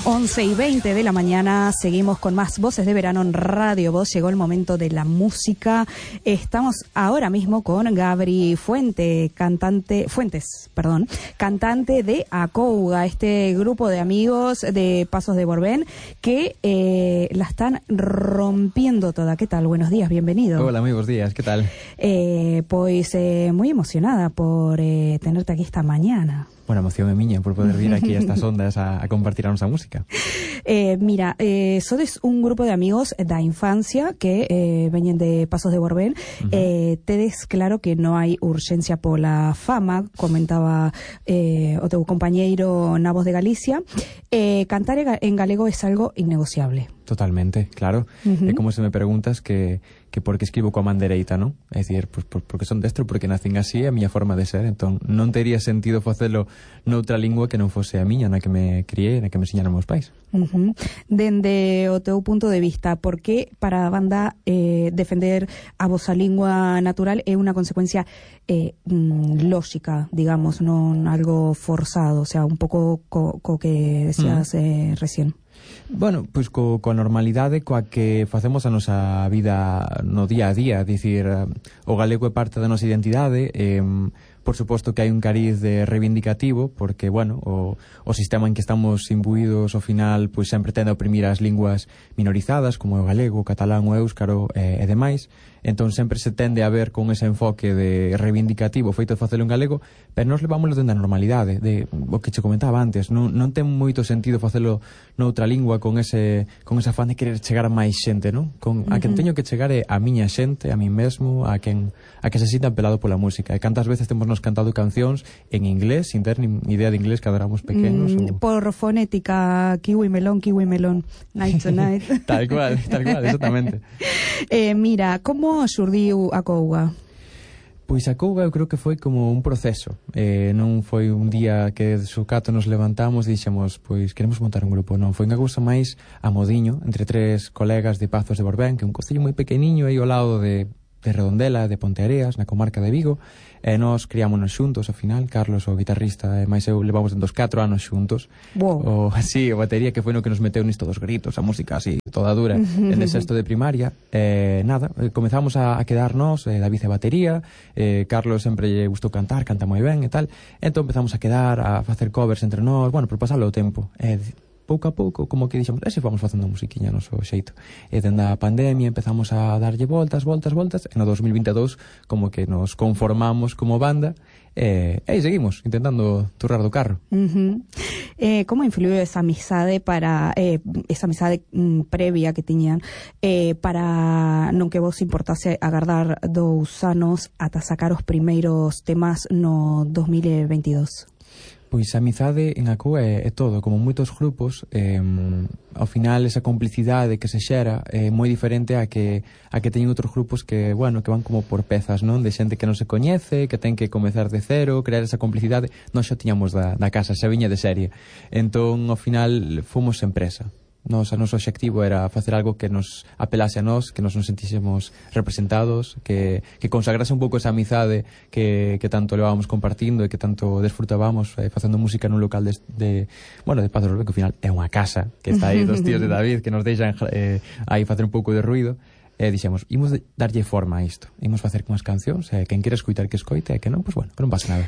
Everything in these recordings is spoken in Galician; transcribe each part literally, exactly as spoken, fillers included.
once y veinte de la mañana, seguimos con más Voces de Verano en Radio Voz. Llegó el momento de la música. Estamos ahora mismo con Gabri Fuente, cantante, Fuentes, perdón, cantante de Acouga, este grupo de amigos de Pasos de Borbén que eh, la están rompiendo toda. ¿Qué tal? Buenos días, bienvenido. Hola, muy buenos días, ¿qué tal? Eh, pues eh, muy emocionada por eh, tenerte aquí esta mañana. Bueno, emoción é miña por poder vir aquí a estas ondas a, a compartir a nosa música. Eh, mira, eh, sodes un grupo de amigos da infancia que eh, veñen de Pasos de Borbén. Uh-huh. eh, tedes claro que non hai urxencia pola fama, comentaba eh, o teu compañeiro na Voz de Galicia. Eh, cantar en galego é algo innegociable. Totalmente, claro. Uh-huh. É como se me preguntas que, que por que escribo coa man dereita, non? É dicir, pues, por, porque son destro, porque nacen así, é a miña forma de ser. Entón, non tería sentido facelo noutra lingua que non fose a miña, na que me criei, na que me enseñaron meus pais. Uh-huh. Dende o teu punto de vista, por que para a banda eh, defender a vosa lingua natural é unha consecuencia eh, mm, lógica, digamos, non algo forzado, o sea, un pouco co, co que decías mm. eh, recién? Bueno, pois co, coa normalidade coa que facemos a nosa vida no día a día, dicir, o galego é parte da nosa identidade, eh, por suposto que hai un cariz de reivindicativo, porque, bueno, o, o sistema en que estamos imbuídos ao final, pois sempre tende a oprimir as linguas minorizadas, como o galego, o catalán, o éuscaro e, e demais. Entón sempre se tende a ver con ese enfoque de reivindicativo feito de facelo en galego, pero nós levámoslo dentro da normalidade, de o que che comentaba antes. Non, non ten moito sentido facelo noutra lingua con ese con esa afán de querer chegar a máis xente, non? Con, a quen teño que chegar é a miña xente, a mí mesmo, a quen a que se sinta apelado pola música. E cantas veces temos nos cantado cancións en inglés, sin ter ni idea de inglés cando éramos pequenos. Mm, o... Por fonética, kiwi melón, kiwi melón, night to night. Tal cual, tal cual, exactamente. eh, mira, como xurdiu Acouga? Pois Acouga eu creo que foi como un proceso, eh, non foi un día que de sucato nos levantamos e dixemos, pois queremos montar un grupo, non, foi unha cousa máis a modiño, entre tres colegas de Pazos de Borbén, que é un concello moi pequeniño aí ao lado de, de Redondela, de Ponteareas, na comarca de Vigo, e nós criámonos xuntos ao final. Carlos, o guitarrista, e máis eu levamos dos catro anos xuntos. Wow. O, así, o batería que foi no que nos meteu nisto dos gritos, a música así, toda dura, en el sexto de primaria. E nada, comezamos a, a quedarnos, eh, David e batería, eh, Carlos sempre lle gustou cantar, canta moi ben e tal, entón empezamos a quedar, a facer covers entre nós, bueno, por pasarlo o tempo. E pouco a pouco, como que dixemos, e se fomos facendo musiquiña no seu xeito. E dende a pandemia empezamos a darlle voltas, voltas, voltas, e no dos mil vinte e dous como que nos conformamos como banda, e aí seguimos, intentando turrar do carro. Uh-huh. eh, como influiu esa amizade para, eh, esa amizade mm, previa que tiñan, eh, para non que vos importase agardar dous anos ata sacar os primeiros temas no dos mil veintidós? Pois a amizade en Acouga é, é todo, como moitos grupos, eh, ao final esa complicidade que se xera é moi diferente a que a que teñen outros grupos que, bueno, que van como por pezas, non? De xente que non se coñece, que ten que comezar de cero, crear esa complicidade. Nós xa tiñamos da, da casa, xa viña de serie. Entón, ao final, fomos empresa. Nos, a noso obxectivo era facer algo que nos apelase a nós, que nos nos sentísemos representados, que, que consagrase un pouco esa amizade que, que tanto levábamos compartindo e que tanto desfrutábamos eh, facendo música nun local de, de bueno, de Pazos de Borbén, que ao final é unha casa que está aí dos tíos de David que nos deixan eh, aí facer un pouco de ruido. E dixemos, imos darlle forma a isto, imos facer unhas cancións, e quen quere escoitar que escoite, e que non, pois bueno, que non pasa nada.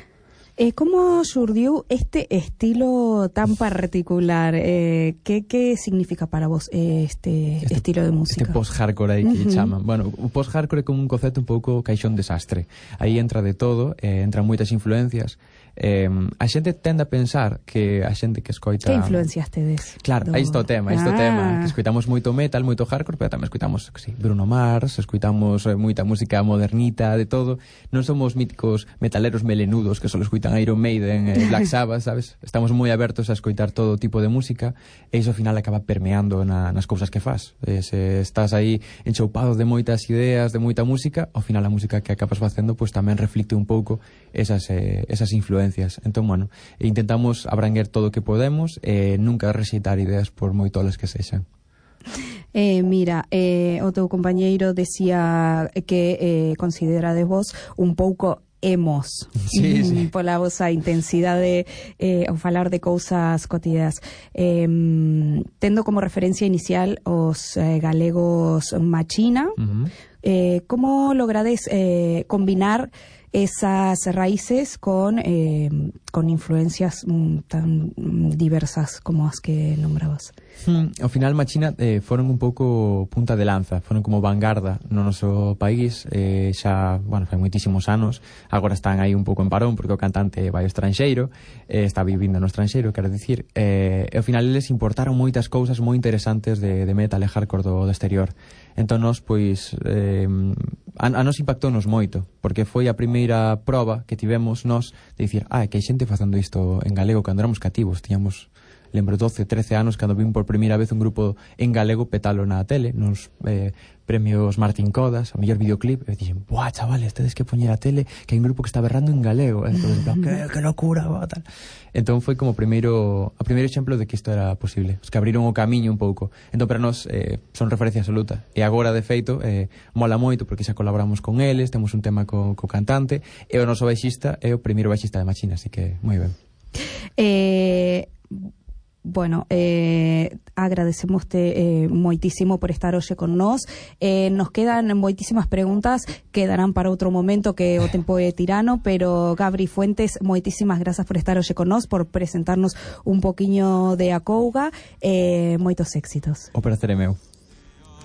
Eh, como xurdiu este estilo tan particular? Eh, que, que significa para vos eh, este, este estilo de música? Este post-hardcore aí que uh-huh. chaman. Bueno, o post-hardcore é como un concepto un pouco caixón desastre. Aí entra de todo, eh, entran moitas influencias. Eh, a xente tende a pensar que a xente que escoita... Que influencias tedes? Claro, aí está o tema, aí está o tema. Que escoitamos moito metal, moito hardcore, pero tamén escoitamos sí, Bruno Mars, escoitamos eh, moita música modernita, de todo. Non somos míticos metaleros melenudos que só escoitan Iron Maiden e eh, Black Sabbath, sabes? Estamos moi abertos a escoitar todo tipo de música e iso ao final acaba permeando na, nas cousas que faz. Eh, se estás aí enchoupado de moitas ideas, de moita música, ao final a música que acabas facendo pues, tamén reflicte un pouco esas, eh, esas influencias. Entón, bueno, intentamos abranguer todo o que podemos e nunca rexeitar ideas por moi tolas que sexan. Eh, mira, eh, o teu compañeiro decía que eh, considerades vos un pouco emos. Sí, sí. Pola vosa intensidade eh, ao falar de cousas cotidianas. Eh, tendo como referencia inicial os eh, galegos machina, uh-huh. eh, como logrades eh, combinar esas raíces con, eh, con influencias mm, tan diversas como as que nombrabas? Hmm, ao final Machina eh, foron un pouco punta de lanza, foron como vanguarda no noso país, eh, xa, bueno, fai moitísimos anos, agora están aí un pouco en parón porque o cantante vai ao estranxeiro, eh, está vivindo no estranxeiro, quero dicir, eh, e ao final eles importaron moitas cousas moi interesantes de, de metal e hardcore do, do exterior. Entón nos, pois, eh, a, a nos impactounos moito, porque foi a primeira proba que tivemos nos de dicir, ah, que hai xente facendo isto en galego cando éramos cativos, tiñamos, lembro, doce, trece anos cando vim por primeira vez un grupo en galego petalo na tele, nos eh, premios Martín Codas, o mellor videoclip, e dixen, buah, chavales, tedes que poñer a tele que hai un grupo que está berrando en galego. Entón, en plan, que, que locura, buah, tal. Entón foi como primeiro, o primeiro exemplo de que isto era posible, os que abriron o camiño un pouco. Entón para nós eh, son referencia absoluta. E agora, de feito, eh, mola moito porque xa colaboramos con eles, temos un tema co, co cantante, e o noso baixista é o primeiro baixista de Machina, así que moi ben. Eh... Bueno, eh, agradecemoste eh, moitísimo por estar hoxe con nós. Eh, nos quedan moitísimas preguntas, quedarán para outro momento que o tempo é tirano, pero Gabri Fuentes, moitísimas grazas por estar hoxe con nós, por presentarnos un poquiño de Acouga, eh, moitos éxitos. O prazer é meu.